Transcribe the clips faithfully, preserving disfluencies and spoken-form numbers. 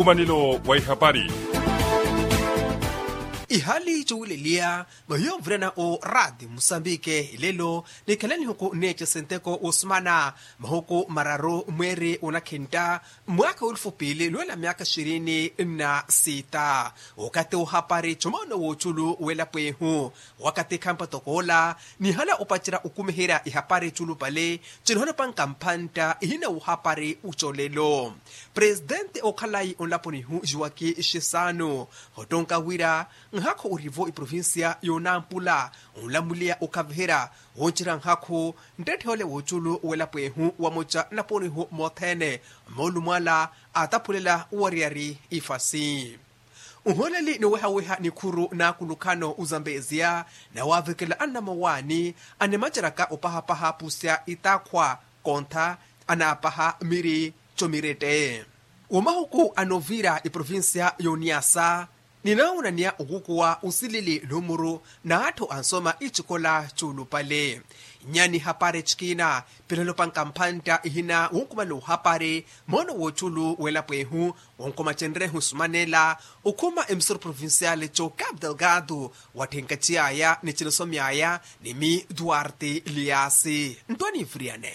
Nkumanelo wa ihapari. Ihali cuwileliya vahiyo nvirana o rati musambike ilelo, nikhala nihuku neece senteko osumana mahuku mararu mweeri onakhintta, mwaakha welufu piili lwela myaakha xirini na sita. Okathi ohapari comoono wooculu welapo ehu, wakathi khampa tokoola nihala opacerya okumiherya ihapari culupale, cinihona opanka mpantta ihina wohapari ucolelo. Presitenti okhalayi onlaponi ihu juwaki xisanu, ottonka wira nhakhu orivo eprovincia yonampula, onlamuliya okhaviherya woncerya nhakhu nttette ole woculu welapo ehu wamoca nnaponi ihu mothene, moolumwala ataphulela owariyari ifasi. Nholeli niwehaweha nikhuru n'akulukhano ozambeziya, nawavekela annamowaani animaceraka opahapaha pusya itakhwa, kontha anaapaha miri comirette. Wamahuku anovira eprovincia yoniyasa, ninaawonaniya okukuwa osilili numuru n'atthu ansoma icikola cuulupale. Nyani hapari cikina pinalopanka mpantta ihina wonkumala ohapari moono woculu welapo ehu, wonkomacenryehu sumanela okhuma emisoro provincial co capital gado, watthenkaci aya ni cinisomy'aya ni mi duarte liasi nttwaniviriyane.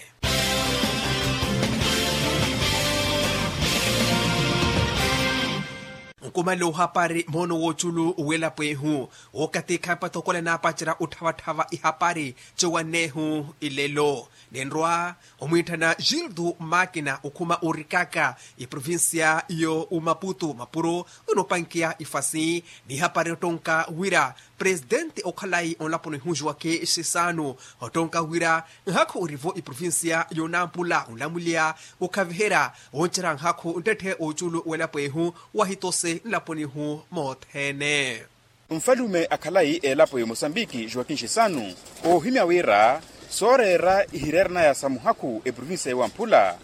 Nkumala ohapari moono woculu welapo ehu, wookathi khampa tokole naapacerya otthavatthavha ihapari cowannehu ilelo. Ninrwa omwiitthana gildo makina okhuma orikaka eprovincia yo omaputu mapuro, onoopankiya ifasi n'ihapari ottonka wira presitenti okhalayi onlaponi ihu juwaki xisanu, ottonka wira nhakhu orivo eprovincia yonampula onlamuliya okhaviherya woncerya nhakhu nttette oculu welapo ehu, wahitosi nlaponi ihu mothene. Nfalume akhalayi elapo ya mosambiki joaquin xisanu, oohimya wira sooreera ihireeranaya sa muhakhu eprovincia yowamphula,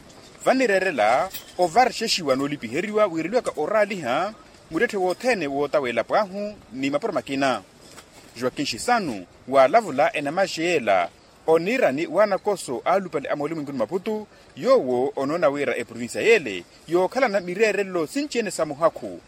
vanireerela ovarxexiwa noolipiheriwa wiireliwaka oraaliha muttetthe wothene wootawa elapo ahu ni mapuro makina. Joaquin xisanu waalavula enamaxe yeela oniirani w'anakoso alupale a moolumwenkuni maputu, yoowo onoona wira eprovincia yeele yookhalana mireerelo sinci-ene sa muhakhu